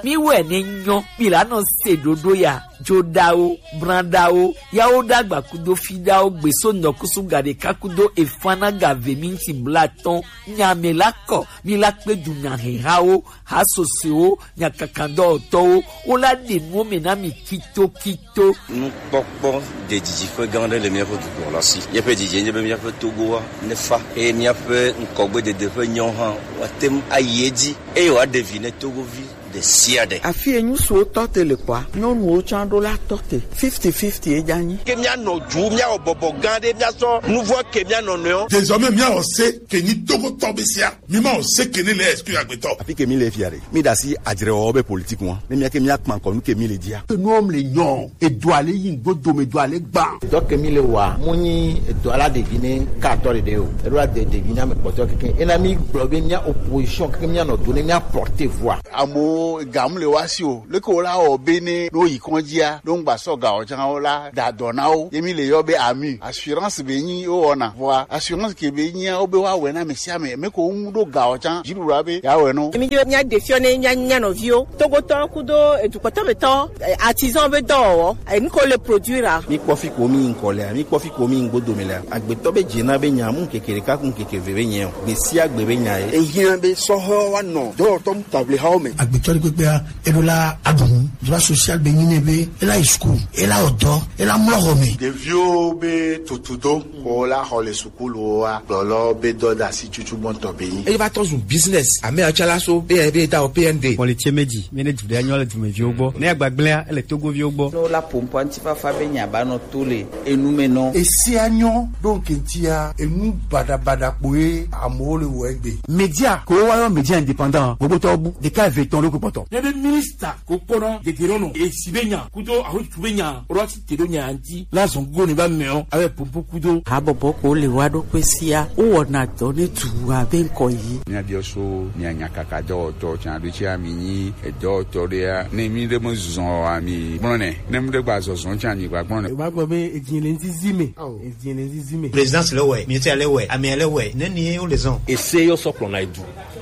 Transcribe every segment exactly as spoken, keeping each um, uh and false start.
Mi wɛ ne nyɔ, mi la nɔ se ɖoɖo ya, joɖawo, branɖawo, yawo ɖagba kudo fiɖawo, gbeso nɔkusu gaɖeka kudo efana gave minti blatɔn, nyame la kɔ, mi la kpe du nyahehawo, hasosewo, nyakakadɔwɔtɔwo, wo la ɖe nuwo me na mi kitokito. Nukpɔkpɔ ɖe didiƒe gã aɖe le míaƒe dukɔ la si. Míaƒe didi nye be míaƒe Togoa nefa eye míaƒe ŋkɔgbedede ƒe nyawo hã woate ŋu ayi edzi eye wòaɖe vi ne Togovi ɖe sia ɖe. Afi yi ŋutsuwo tɔ te le kɔa, nyɔnuwo tsã ɖo la tɔ te. Fifty fifty ye dza nyi. Ke míanɔ du, míawɔ bɔbɔ gã aɖe, míasɔ nuvɔ ke mía nɔnɔewo. Désormais, míawɔ se ke nyi Togotɔ be sia. Mi ma o se ke ne le exclu agbetɔ. Afi ke mi le fia ɖe, mi ɖe asi adzrewɔwɔ be politique ŋua. Ne mía ke mía kpa ŋkɔ nu ke mi le dzia. Enuwo le nyɔ, edoa le yi ŋgbo dome, edoa le gbã. Dɔ ke mi le wa, mu nyi edoa la ɖevi ne ka atɔ ɖeɖe o. Eɖo la de ɖevi na me kpɔtɔ keke. Ena mi gblɔ be mía opposition keke mía nɔ do ne mía porter voix. Amewo ga mu le wa si o. Leke wo la wɔ be ne ɖo yi kɔndzia, ɖo ŋgba sɔ ga o tsã wo la da dɔ na wo. Ye mi le yɔ be ami. Assurance be nyi wo wɔna. Vɔa assurance ke be nyia wo be wa wɛ na ame sia ame. Me ko ŋu ɖo ga o tsã. Dziɖuɖua be ya wɛ no. Emi dzo mía ɖe fiɔ ne mía, mía nɔviwo. Togotɔ kudo edukpɔtɔmetɔ, eh, artisan be dɔwɔwɔ. Eh, nu ko le produire a. Mi kpɔ fi ko mi ŋkɔ lea, mi kpɔ fi ko mi ŋgbo dome lea. Agbetɔ be dze na be nya mu ŋkeke ɖeka ku ŋkeke ve be nya o. Gbe sia gbe be nya ye. Ehiã be sɔhɔ wa nɔ dɔwɔtɔ mu table hawo me. Agbetɔ ɖe kpekpea, eɖo la aɖu nu. Droit social be nyi nɛ be ela yi school, ela wɔ dɔ, ela mlɔ xɔ me. Ɖeviwo be tutudo ko la xɔ le sukuluwoa, kplɔlɔ be dɔdeasi tutu gbɔntɔ be nyi. Eye va tɔ zu business. Ame atsalaso be be da o P N D. Xɔ le tse me dzi, mi ne du ɖe anyɔ le dumeviwo gbɔ. Ne agbagblẽa, ele Togoviwo gbɔ. Ne wola ƒo ŋkɔ ŋutifafa be nya ba nɔ to le enu me nɔ. Esia nyɔ ɖo ŋke ŋutia, enu baɖabaɖa kpoe amewo le wɔ egbe. Média, ko wa yɔ média indépendant, gbogbo tɔ bu, ɖeka eve tɔn ɖo ko kpɔtɔ. Ne be minista ko kpɔna dedero nɔ, esi be nya, kudo ahotu be nya, ro asi te ɖo nya ŋti, la zɔn go ne ba mɛ o, abe pompo kudo. Habɔbɔ ko le wa ɖo kpe sia, wo wɔna dɔ ne tu abe ŋkɔ yi. Mía biɔ so, mía nya kaka dɔwɔtɔ, tsan ɖo tsi ami nyi, edɔwɔtɔ ɖea, ne mi ɖe me zɔn ami gblɔ nɛ, ne mi ɖe gba zɔzɔn tsan mi gba gblɔ nɛ. Ba gbɔ be edzi le ŋzizi me. Edzi le ŋzizi me. Présidence le wɛ, ministère le wɛ, amea le wɛ, ne ni wo le zɔn. Ese yɔ sɔ kplɔ na edu.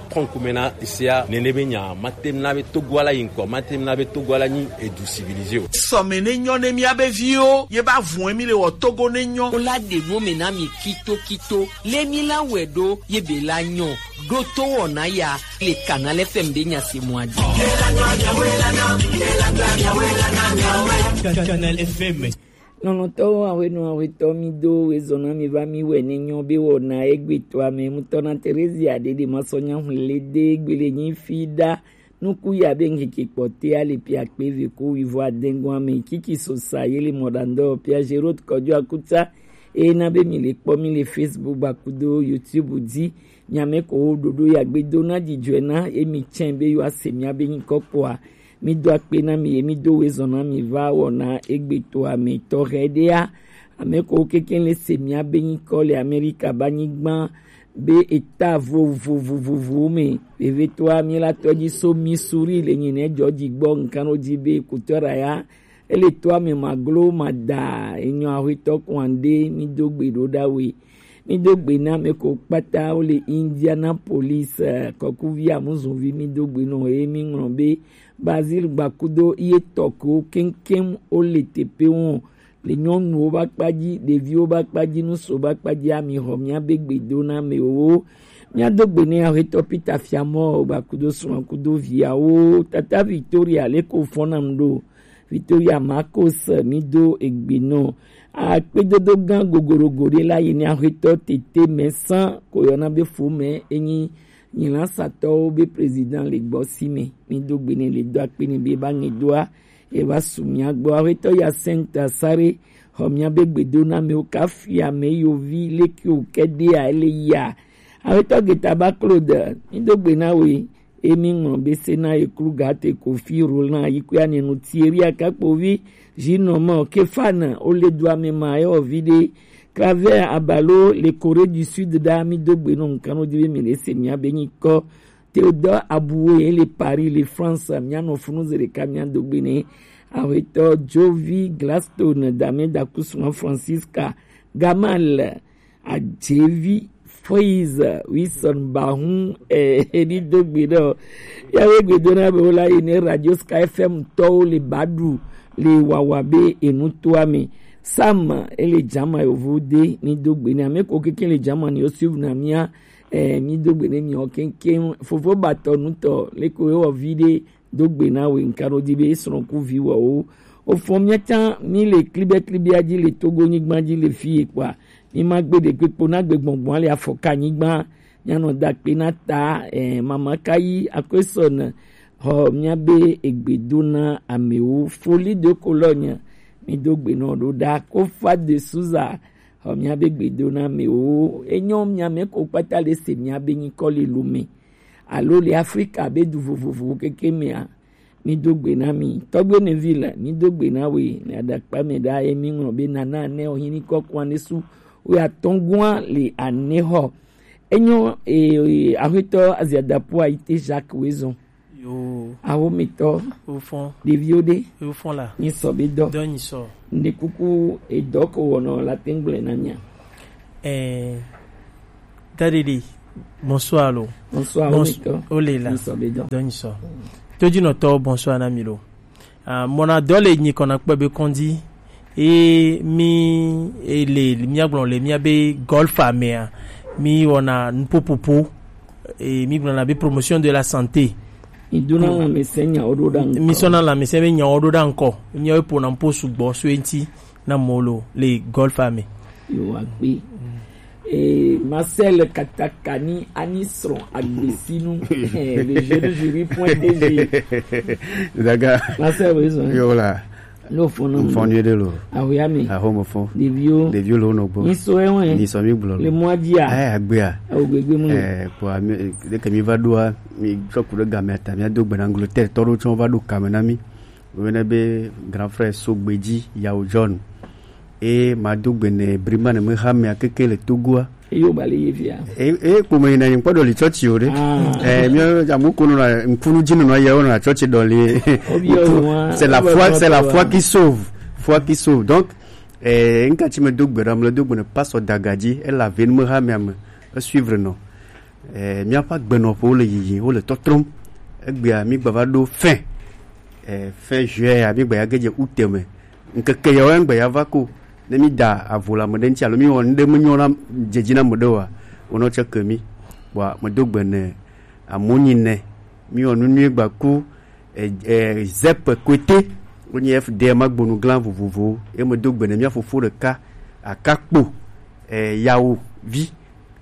Kɔnkume na esea, nene be nya, mate na be Togo ala yi ŋkɔ, mate na be Togo ala nyi edu civilisé o. Sɔme ne nyɔ ne mía be viwo, ye ba vun mi le wɔ Togo ne nyɔ. Wo la ɖe nuwo me na mi kitokito. Le mi la wɛ ɖo, ye be la nyɔ. Ɖo to wɔna ya, le Canal F M be nya se mɔ adi. Canal F M. Nɔnɔtɔwo, ahwenɔ, ahwetɔ, mi do wezɔna mi va mi wɛ ne nyɔ be wɔna egbe to ame mutɔ na Terezia ɖe ɖe ma sɔ nya hle de gbele nyi fi ɖa. Nuku ya be ŋkeke kpɔtea le pia kpe ve ko wivɔ adengɔn ame kiki sosa ye le mɔɖandɔ pia Gerot kɔjo akuta. Eye na be mi le kpɔ mi le Facebook ba kudo YouTube dzi. Miame ko wo ɖoɖo ya gbe do na dzidzɔe na emi tsɛ be yewoa se mia be nyikɔ kpɔa. Mi do akpe na mi ye mi do wezɔn na mi va wɔna egbe to ame tɔxɛ ɖea. Ame ko wo keke le se mia be nyikɔ le Amerika ba nyigba be eta vovovovovowo me. Vevetoa mi la tɔdzi so Missouri le nyi ne dzɔ dzi gbɔ nkan wo dzi be kutɔ ra ya. Ele to ame maglo mada enyɔ ahwetɔ kwan ɖe mi do gbe ɖo ɖa we. Mi do gbe na ame ko kpata wo le Indianapolis, eh, kɔkuvi amuzunvi mi do gbe nɔ ye mi ŋlɔ be Basil Gbakudo ye tɔ ko keŋkeŋ wo le teƒe wo le nyɔnuwo ba kpa dzi, ɖeviwo ba kpa dzi, nuso ba kpa dzi, ami xɔ mia be gbe do na amewo. Mia do gbe ne ahwetɔ Peter Fiamɔ Gbakudo srɔ̃ kudo viawo. Tata Victoria le ko fɔnam ɖo. Victoria Marcos, mi do egbe nɔ. Akpedodo gã gogorogo ɖe la yi ne ahwetɔ tete mɛ sã ko yɔna be fo mɛ enyi nyilasatɔwo be président le gbɔ si me. Mi do gbe ne le do akpe ne be ba ŋe doa. Eva su mia gbɔ. Ahwetɔ ya Saint Asare xɔ mia be gbedo na mewo kafi ame yovi leke o ke ɖea ele ya. Ahwetɔ Getaba Claude, mi do gbe na we. Emi ŋlɔ be se na ye kru gate Kofi Roland yi kwe anenu Thierry Akakpovi, Gino Mo Kefana, ole du ame ma ye ovi de. Claver Abalo le Corée du Sud da mi do gbe no nkan no di be mi le se mia be nyi kɔ. Théodore Aboué le Paris le France, mia no funu ze ɖeka mia do gbe ne. Ahwetɔ Jovi Gladstone Dame Dakusuma Francisca Gamal Adjevi Praise Wilson Bahun, eh, ni do gbe na. Ya be gbe do na be wo la yi ne Radio Sky F M tɔwo le ba ɖu le wawa be enu to ame. Sam ele jama yovo de ni do gbe na. Ame ko keke le jama ni o suivre na mia, eh, mi do gbe ne mi o keke. Fofo batɔ nutɔ le ko yo vi de do gbe na we nka ɖo di be esrɔ̃ ku vi wɔwo. Ofɔ mia tsã mi le klibɛklibia dzi le Togo nyigba dzi le fi ye kpɔa, mi ma gbe ɖe kpekpo na gbe gbɔngbɔn le afɔka nyigba. Mianɔ da kpe na ta, eh, mama kayi akwesɔn xɔ mia be egbe do na amewo. Folie de Cologne, mi do gbe nɔ ɖo ɖa. Kofa de Souza xɔ mia be gbe do na amewo. Enyo mia me ko kpata le se mia be nyikɔ le Lomé alo le Afrika be du vovovowo keke mea, mi do gbe na mi. Tɔgbe Neville, mi do gbe na we. Le aɖakpa me ɖa ye mi ŋlɔ be nana ne o hini kɔ kwan ne su. We atɔngua le ane xɔ. Enyo, e, e, axetɔ Aziadapo Ayite Jacques Wezon. Yo. Awo mi tɔ. Yo fɔn. Ɖeviwo ɖe. Yo fɔn la. Nyi sɔ be dɔ. Dɔ nyi sɔ. Nde kuku edɔ ko wɔnɔ la tengble na mia. Eh, Dadidi, bonsoir lo. Bonsoir, Bons- Omito. Ole la. Nisɔbedɔ. Donc, nisɔ. Todinɔtɔ, bonsoir na mi lo. Ah, mɔna dɔ le nyi kɔna kpɛ be kɔndi. E mi ele mia gblɔ le mia be golf amea. Mi wɔna nupopopo. E mi gblɔ na be promotion de la santé. Iduna la mese nya odo da nkɔ. Mi sɔna la mese be nya odo da nkɔ. Mia we pona mpo sugbɔ so enti na molo le golf ame. Yo agbe. Eh, Marcel Katakani ani srɔ̃ agbesinu. Eh, le jeune jury point D G. Daga. Marcel, oui, ça. Yo la. No fɔnɔ. Fɔnɔ de lo. Ahoya mi. Aho mo fɔ. Ɖeviwo. Ɖeviwo lo no gbo. Ni so ewe. Ni so mi gblɔ. Le mois dia. Eh, agbea. Awo gbegbe mu. Eh, po ami de ke mi va do a, mi tsɔ ku ɖe game ta mi do gbe na Angleterre tɔ ɖo tsɔ va do kame na mi. Woyɔnɛ be grand frère Sogbeji Yao John. E ma do gbe ne Briman me ha me akeke le Togoa. Eyo ba le ye via. E e ko me na yin podo le church yo de. Ah. Eh, mi amu ko no na nkunu jinu no ye na church do le. Obi o wa. C'est la foi, c'est la foi qui sauve. Foi qui sauve. Donc, eh, nka ti me do gbe ram le do gbe ne pasteur Dagaji, e la ven me ha me am. E suivre no. Eh, míaƒe agbenɔƒewo le yiyim, wole tɔtrɔm. Egbea mígbava ɖo fin, eh, fin juin ya, mígbe ya ge dze août me. Ŋkeke yawo ŋgbe ya va ko. Ne mída avo le ame ɖe ŋuti alo míwɔ nu ɖe menyo na, dze dzi na ame ɖe oa, wonɔ tsɛ ke mí. Kpɔa, medo gbe ne amewo nyi nɛ. Míwɔ nu nyui gbaku, eh, eh, zep kote, wonye F D M agbonu glã vovovowo. Ye medo gbe ne mía fofo ɖeka, Akakpo, eh, Yawo vi,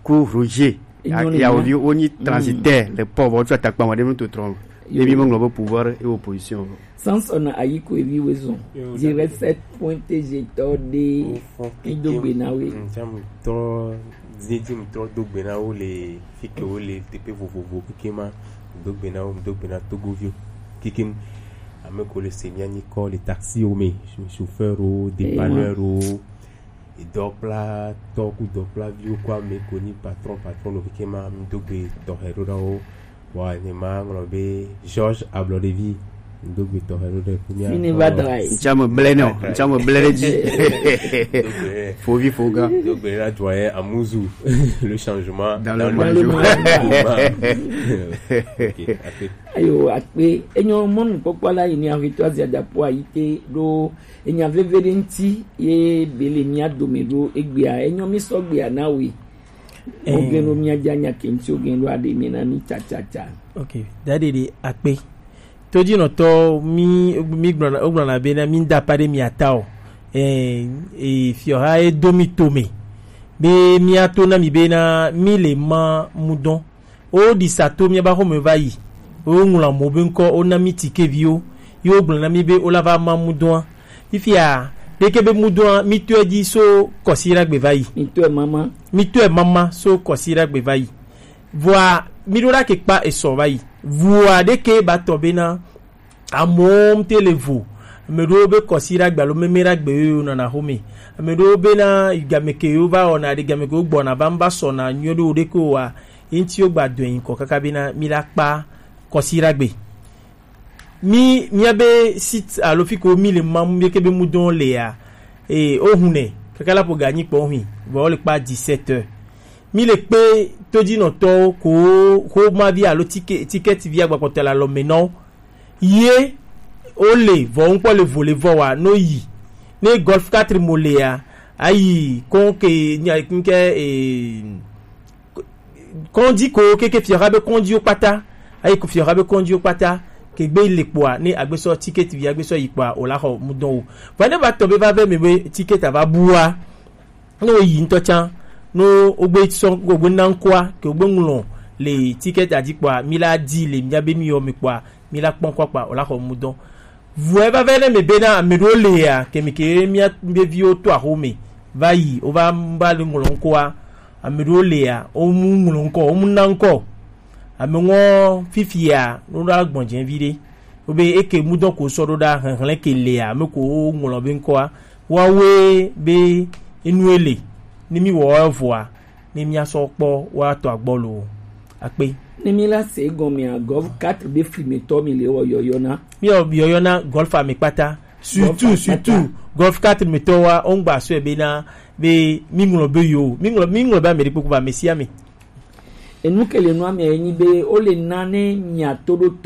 ku Roger, Yawo vi, wonyi transitaire le port, vɔ wotsɔ atakpa ma ɖe nu totrɔ. Ye mi meŋlɔ be pouvoir et opposition. Samson Ayiko evi Wezon, zéro sept point T G tɔ ɖe, mi do gbe na we. Ŋtsam tɔ, zedzi mi tɔ do gbe na wo le fi ke wo le teƒe vovovo keke ma, do gbe na wo, do gbe na Togoviwo keke. Ame ko le se mia nyi kɔ le taxiwo me, chauffeur o, dépanneur o, dɔkplatɔ ku dɔkplaviwo ku ame ko nyi patron, patron lo keke ma, mi do gbe tɔxɛ ɖo na wo. Wa ne ma ŋlɔ be George Ablɔɖevi, mi do gbe tɔxɛ ɖo ɖe ku mia. Fini va dra yi. Ŋtsam ble nɔ, ŋtsam ble ɖe dzi. Fovi foga. Do gbe na doyen Amuzu, le changement dans le monde. Ok, akpe. Ayo, akpe. Enyo mɔnukpɔkpɔ la yi ni ahwetɔ azia dapo ayi te ɖo enya veve ɖe ŋuti ye bele mía dome ɖo egbea. Enyo mi sɔgbea na we. Eh. Ogen ɖo mía dza nya ke ŋuti ogen ɖo aɖe mi na mi tsatsatsa. Ok, daɖe ɖe akpe. Todinɔtɔ mi, mi gblɔna, wogblɔna be na mi da pa ɖe mia ta o. Eh, eh, fiɔha ye do mi tome. Be mia to na mi be na mi le ma mudɔn. Wo ɖi sa to míaƒe axome va yi. Wo ŋlɔ amewo be ŋkɔ, wo na mí tikeviwo. Ye wo gblɔ na mí be wo la va ma mudɔa. Fifia, ɖeke be mudɔa, mí tɔe dzi so kɔsiɖagbe va yi. Mí tɔe mama. Mí tɔe mama so kɔsiɖagbe va yi. Vɔa, mí ɖo ɖa ke kpa esɔ va yi. Vɔa ɖeke ba tɔ be na Amewo ŋute le vo. Ame ɖewo be kɔsiɖagbe alo memeɖagbe yewo nɔna xome. Ame ɖewo bena game ke yewo va wɔna ɖe, game ke wo gbɔna va ŋva sɔna nyuie ɖe wo ɖeke oa, ye ŋuti wo gba dɔe ŋkɔ kaka bena mi la kpa kɔsiɖagbe. Mi, mía be site alo fi ke wo mi le mam, mi ke be mudɔn lea, e, wo hunɛ kaka la po ganyi kpɔ hui, vɔ wo le kpa dix-sept heures. Mi le kpe tojinɔtɔwo ko, xoma vi alo tike-, tikɛti vi agbakpɔtɔ le alɔ me nɔ wo. Ye wo le vɔ ŋkpɔ le vo le vɔ wa no yi. Ne Golf quatre mo le ya, ayi kon ke nya nke, eh, kɔndi ko keke fiɔxa be kɔndiwo kpata. Ayi ko fiɔxa be kɔndiwo kpata ke gbe le kpoa, ne agbesɔ tikɛti vi agbesɔ yi kpoa, o la xɔ mudɔn o. Va ne va tɔ be va vɛ me be tikɛti ava bua. Ne wo yi ŋutɔ tsã, ne wogbe sɔ, wogbe na ŋkɔa, ke wogbe ŋlɔ le tikɛti adzi kpoa, mi la di le mia be mi yɔ mi kpoa, mi la kpɔ ŋkɔa kpoa, o la xɔ mudɔn. Vɔe va vɛ ne me be na ame ɖewo le ya, ke mi ke mia be viwo to axo me, va yi, wo va, va le ŋlɔ ŋkɔa, ame ɖewo le ya, wo mu ŋlɔ ŋkɔ, wo mu na ŋkɔ. Ame ŋɔ fifia, no ɖo agbɔn dze vi ɖe. Wo be eke mudɔn ko sɔ ɖo ɖa, hlɛnhlɛn ke le ya, ame ko wo ŋlɔ be ŋkɔa, wa we be enu ele, ne mi wɔ vɔa, ne mia sɔ kpɔ wa tɔ agbɔ lo. Akpe. Ne mi la se gɔmea, Golf quatre be flimetɔ mi le wɔ yɔyɔ na. Mi yɔ yɔyɔ na Golf ame kpata. Surtout, Golf ame kpata. Surtout, Golf quatre me tɔ wa, o ŋgba sɔe be na, be mi ŋlɔ be yo, mi ŋlɔ, mi ŋlɔ be ame ɖe kpokpo ba, ame sia ame. Enu ke le nua mea ye nyi be, wo le na ne mia to ɖo